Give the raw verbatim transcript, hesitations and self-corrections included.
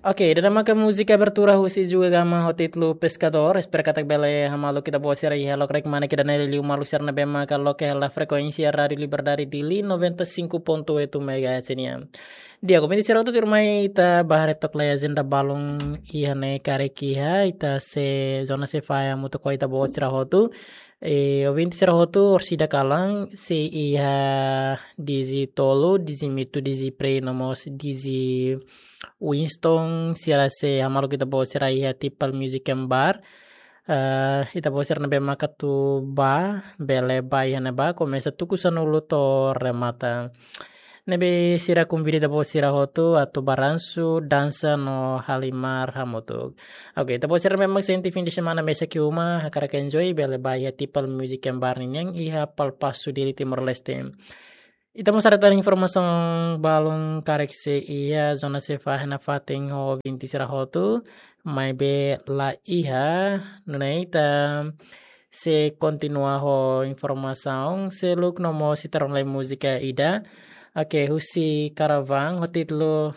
Oke, ida-ne'e maka múzika abertura husi Juga Gama ho títulu Pescador. Espera katak bele hamaluk ita-boot sira iha lokraik mane ida-ne'e, liuliu maluk sira ne'ebé maka loke hela frekuénsia Rádio Liberdade Dili noventa e cinco ponto oito megahertz nian. Di'ak, ouvinte sira hotu, tuirmai ita bá haree took lai ajenda balun iha ne'e karik iha, ita sei, zona sei fahe hamutuk ho ita-boot sira hotu. Eh, ouvinte sira hotu, orsida kalan sei iha Digi tolu, Digi Mitu, Digi Prey no mós Digi Winston, sira sei hamaluk ita-boot sira iha Tipal Music and Bar. Eh, ita-boot sira ne'ebé maka atu bá, bele bá iha ne'ebá, komesa tuku sanulu to'o remata. Ne'ebé sira konvida ita-boot sira hotu atu balansu, dansa no halimar hamutuk. Oke, ita-boot sira ne'ebé mak sente fim de semana mesak iha uma, hakarak enjoy, bele bá iha Tipal Music and Bar ninian iha Palpasu, Dili, Timor-Leste. Ita mós haree tan informasaun balun karik sei iha, zona sei fahe nafatin ho ouvinte sira hotu, maibé la iha, nune'e ita sei kontinua ho informasaun seluk no mós ita rona lai múzika ida. Oke, husi Caravan, ho títulu